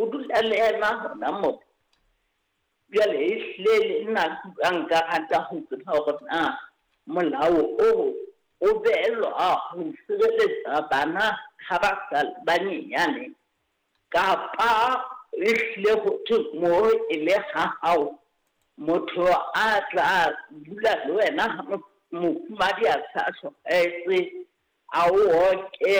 O dula le yena hona moo. Jwale ehlile le nna nka rata ho tseba hore na molao oo o behelwa ho sireletsa bana ha ba sa le banyenyane kapa ehlile ho thwe moo e le ha hao motho a tla dula le wena ha mofumahadi a sa hlokahetse a o oke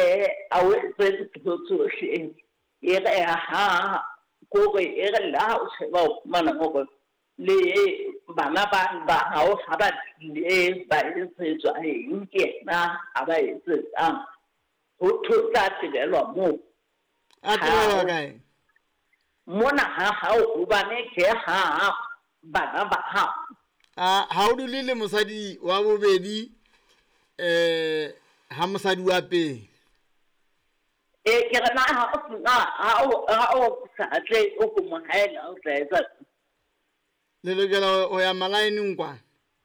a o etse dintho tsohle. E re ha kore e re le ha o sheba o fumana hore le bana ba ba hao ha ba tlile ba etsetswa eng ke yena a ba etsetsang. Ho thwe o tla tebelwa moo. A tebelwa kae? Mona ha hao hobane ke ha bana ba hao. A ha o dule le mosadi wa bobedi ha mosadi wa pele. Ee, ke re na ha o sena ha o sa tle o ko mo haela o tla etsa. Le lokela ho ya malaeneng kwana.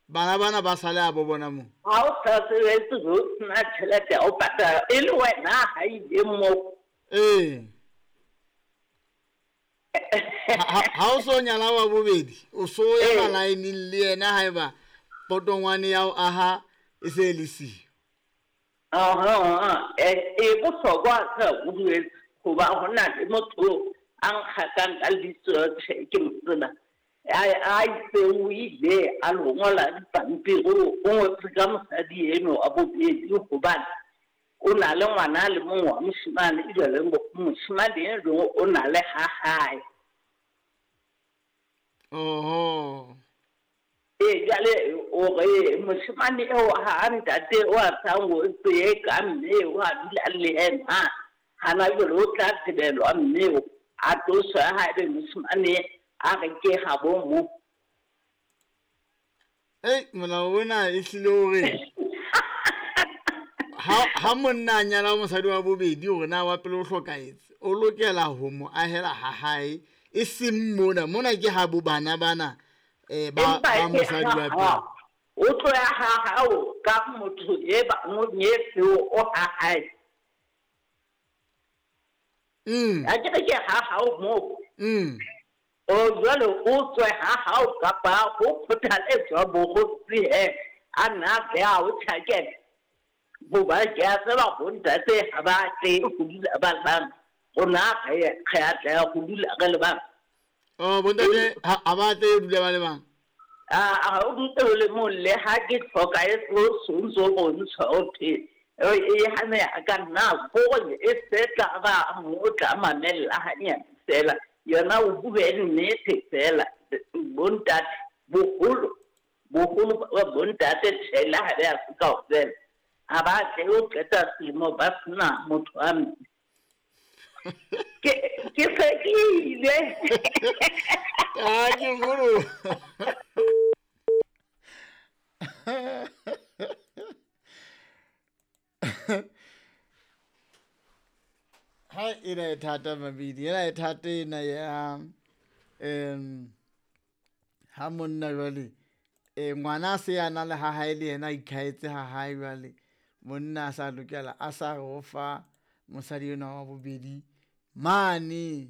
Bana bana ba sale a bo bona moo. Ha o sa sebetse o sena tjhelete ya ho patala e le wena ha ile moo. Ee. Ha o so nyala wa bobedi, o so ya malaeneng le yena haeba potongwane ya ho aha e se le siyo. E bohlokwa ka o duetse hoba ho na le motho a nkgakang ka lebitso tjhe ke mo tseba a itse o ile a lo ngola dipampiri o ngotse ka mosadi eno wa bobedi hobane o na le ngwana a le mong wa moshemane jwale moshemane eno o na le ha hae. Oho. Ee, jwale o re moshemane eo ha ntate o a sa ngotse ka mme o a dula le yena hana jwale o tla tebelwa mme a tloswe haebe moshemane a re ke habo mo. Ei, molao ona e hlile o re ha monna a nyala mosadi wa bobedi hore na wa pele o hlokahetse, o lokela ho mo ahela ha hae e seng mona. Mona ke ha bo bana bana ba mosadi wa pele. O tlo ya ha hao ka motho e ba mo nyetse o ha hae. A ke re ke ha hao mo. O jwale o tswe ha hao kapa ho kgothaletswa bokgotsi he a nna ke a o tjhakela. Hoba ke a tseba bontate ha ba tle ho dula ba bang. Rona re a tla ho dula re le bang. Oh, bontate ha ba tle ho dula ba le bang. A o ntse o le mong le ha ke hloka e so ntso bontsha o the e hane a ka nna gore e se tla ba mo tla mamella hanyane fela yona o bue nnete fela bontate boholo boholo ba bontate tjhela ha ba se kaofela ha ba tle o qeta selemo ba sena motho a mme. Ke se ke ile. Ah, ke nkgono. Ha ena e thata mabidi, ena e thata ena ya ha monna jwale ngwana a se a na le ha hae le yena a ikhaetse ha hae jwale monna a sa lokela a sa re o fa mosadi enwa wa bobedi mane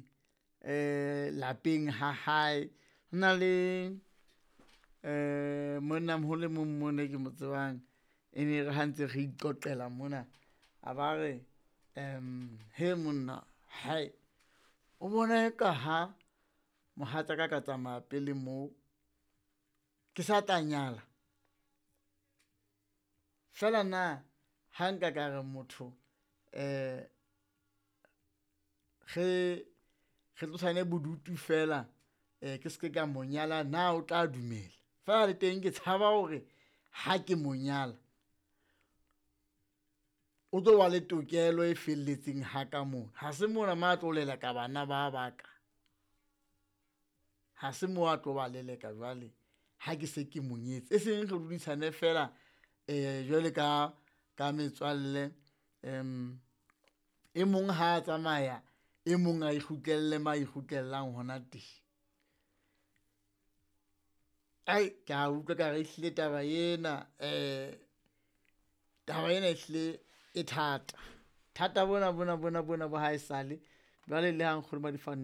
lapeng ha hae. Ho na le monna moholo e mong mona ke mo tsebang e ne re ha ntse re iqoqela mona a ba re he monna hae o bona eka ha mohatsaka ka tsamaya pele moo ke sa tla nyala fela na ha nka ka re motho re tlosane bodutu fela ke se ka mo nyala na o tla dumela fela le teng ke tshaba hore ha ke mo nyala o tlo ba le tokelo e felletseng ha ka mona. Ha se mona ma tlo leleka bana ba baka, ha se mo a tlo ba leleka jwale ha ke se ke mo nyetse e seng re dudisane fela jwale ka metswalle e mong ha a tsamaya e mong a ikgutlelle ma ikgutlellang hona teng. Ai ke a utlwa ka re ehlile taba ena taba ena ehlile e thata. Thata bona bona bona bona bo ha esale jwale le ha nkgono ba di fa